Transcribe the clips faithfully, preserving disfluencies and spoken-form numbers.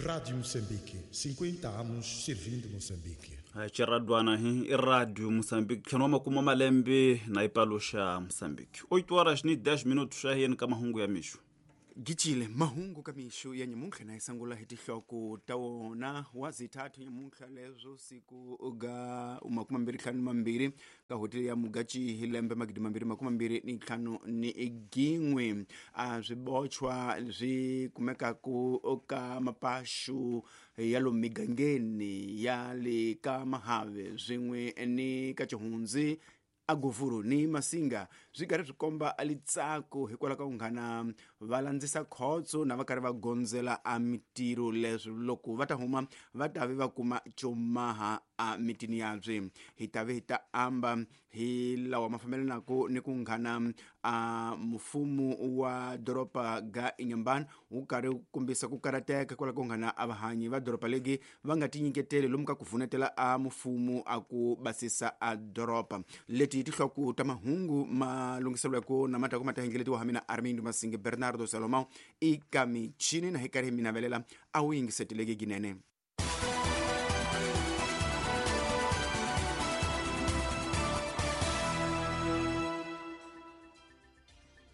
Rádio Moçambique, cinquenta anos servindo Moçambique. Chiradwana hi i Radio Moçambique ntlhanu wa makume malembe na ipaluxa Moçambique. oito horas ni dez minutos xa yeni ka mahungu ya mixo. Gicile mahungu ka mixo ya nyamuntlha na isangula hi tihloko ta wona wa zithathu nyamuntlha leswo siku ga makumi mambirhi ntlhanu mambirhi ka hoteli ya Mugachi hi lembe magidi mambirhi makumi mambirhi ni ntlhanu ni gin'we. A swibochwa swi kumekaku ka mapaxu ya lomu migangeni ya le ka Mahave swin'we ni ka Chihundzi Aguvuru ni Masinga swi karhi swi komba litsako hikwalaho ka ku nghana va landzisa khotso na va karhi va gondzela a mitirho leswi loko va ta huma va ta ve va kuma comaha a mitini yabye. Hi ta ve hi ta amba hi lawa ma fambelanaka ni ku nghana a mfumo wa doroba ga Inhambane wu karhi wu kombisa ku karateka hikwalaho ka ku nghana a vahanyi va doroba legi va nga tinyiketeli lomu ka ku vunetela a mfumo a ku basisa a doroba. Leti tihloko ta mahungu ma lunghiselweke na matako ma ta hingeletiwa ha mina Armindo Masinge Bernardo Salomão eka michini na hi karhi hi mi navelela a wu yingiseteleki ginene.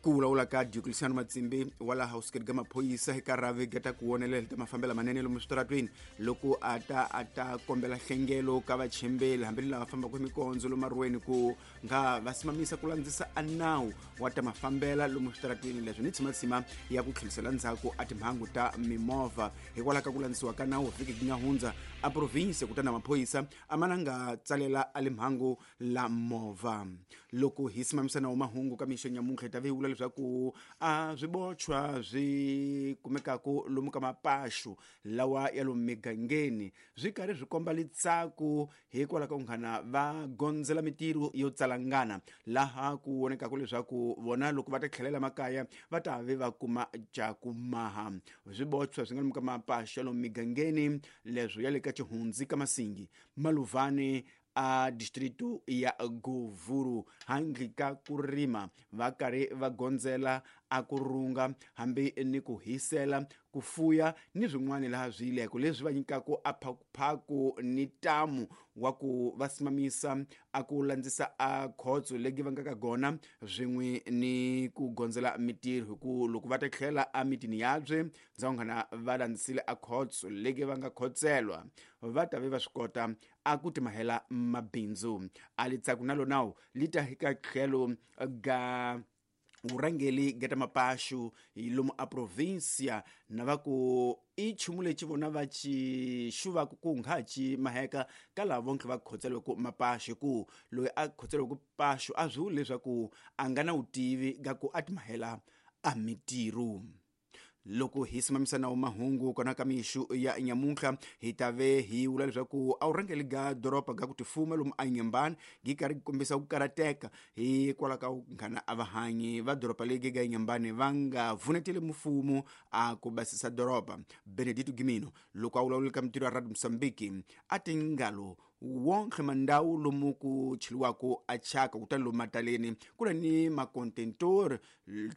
Ku vulavula ka Diocleciano Matsimbi wa laha House ga maphorisa hi ka rhavi ga ta ku vonelela ta mafambelo manene lomu switaratweni loko a ta a ta kombela hlengelo ka vachembeli hambi lava fambaka hi mikondzo lomu marweni ku nga va simamisa ku landzisa a nawu wa ta mafambela lomu switaratweni leswi ni tshimatsima ya ku tlhelisela ndzhaku a timhangu ta mimovha hikwalaho ka ku landzisiwa ka nawu vhiki yi nga hundza a province kutani maphorisa a mana nga tsalela a le mhangu la movha. Loko hi simamisa nawu mahungu ka mixo nyamuntlha hi ta ve hi vula leswaku a swibochwa swi kumekaku lomu ka mapaxu lawa ya lomu migangeni swi karhi swi komba litsako hikwalaho ka ku nghana va gondzela mitirho yo tsalangana laha ku vonekaku leswaku vona loko va ta tlhelela makaya va ta ve va kuma cakumaha. Swibochwa swi nga lomu ka mapaxu ya lomu migangeni leswo ya le ka Chihundzi ka Masingi Maluvani a distrito ya Govuru handle ka ku rima va karhi va gondzela a ku runga hambi ni ku hisela ku fuya ni swin'wana laha swi yileko leswi va nyikaka a phakuphaku ni tamu wa ku va simamisa a ku landzisa a khotso legi va nga ka gona swin'we ni ku gondzela mitirho hi ku loko va ta tlhela a mitini yabye ndza nghana va landzisile a khotso legi va nga khotselwa va ta ve va swi kota a ku timahela mabindzu. A litsaku na lonawu li ta hi ka tlhelo ga vurhangeri ga ta mapaxu hi lomu a provincia na va ku i nchumu lexi vona va xi xuvaka ku nga ci maheka ka lava vonke va khotseliweke mapaxu hi ku loyi a khotseliweke paxu a swi vuli leswaku a nga na vutivi ga ku a timahela a mitirho. Loko hi simamisa nawu mahungu kona ka mixo ya nyamuntlha hi ta ve hi vula leswaku a wu rhangeli ga doroba ga ku tifuma lomu a Inhambane gi karhi kombisa ku karateka hikwalaho ka ku nghana a vahanyi va doroba legi ga Inhambane va nga vuneteli mfumo a ku basisa doroba. Benedito Gimino loko a vulavula ka mitirho ya Radio Moçambique a ti ngalo wonke mandawu lomu ku cheliwaka a chaka kutani lomu mataleni ku na ni macontentor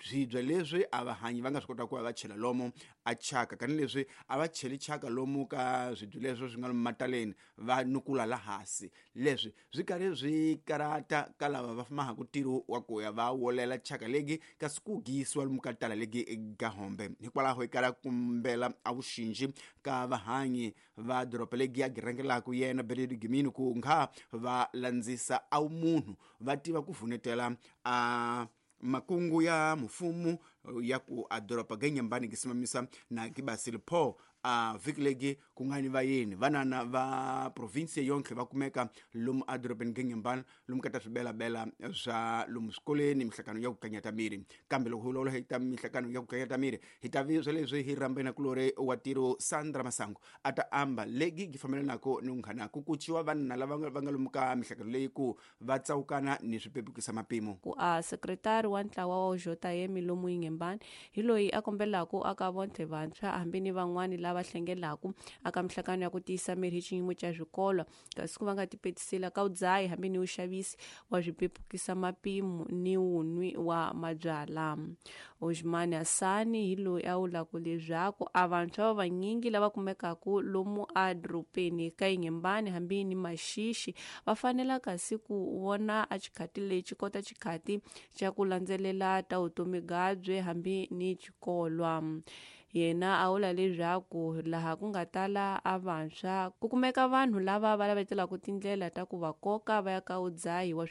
swibye leswi a vahanyi va nga swi kota ku va va chela lomu a chaka kani leswi a va cheli chaka lomu ka swibye leswi swi nga lomu mataleni va nukula la hansi leswi swi karhi swi karata ka lava va fambaka ntirho wa ku ya va wolela chaka legi kasi ku giyisiwa lomu ka tala legi ga hombe hikwalaho hi kala kumbela a vuxinji ka vahanyi va doroba legi ya girangelaka yena Benedito Gimino ku nga va landzisa a munhu va tiva ku vunetela a makungu ya mfumo ya ku a doroba ga Inhambane gisimamisa na gibasile po a vhiki legi ku nga ni vayeni vanana va province yonke va kumeka lomu a dorobeni ga Inhambane lomu ka ta swibelabela swa lomu swikolweni mihlangano ya ku kanyata miri. Kambe loko hi vulavula hi ta mihlangano ya ku kanyata miri hi ta vi swa leswi hi rhambena kulori wa tiro Sandra Masango a ta amba legi gi fambelanaka ni nghana ku kuciwa vanna lava va nga lomu ka mihlangano leyi ku va tsawukana ni swipepukisa mapimo. Ku a sekretari wa ntlawa wa J M lomu Inhambane hi loyi a kombelaka aka vontlhe vantshwa hambi ni van'wani lava hlengelaku aka mihlangano ya ku tiyisa miri hi xiyimo xa swikolo kasi ku va nga tipetisela ka udzayi hambi ni uxavisi wa swipepukisa mapimo ni wunwi wa mabyala. Osman Hasani hi loyi a vulaka leswaku a vantshwa va vanyingi lava kumekaka lomu a dorobeni ka Inhambane hambi ni Maxixi va fanela kasi ku vona a xikhati lexi kota xikhati xa ku landzelela ta vutomi byabye hambi ni xikolwa. Yena a vula leswaku laha ku nga tala a vantshwa ku kumeka vanhu lava va lavetelaka tindlela ta ku va koka va ya ka udzayi wa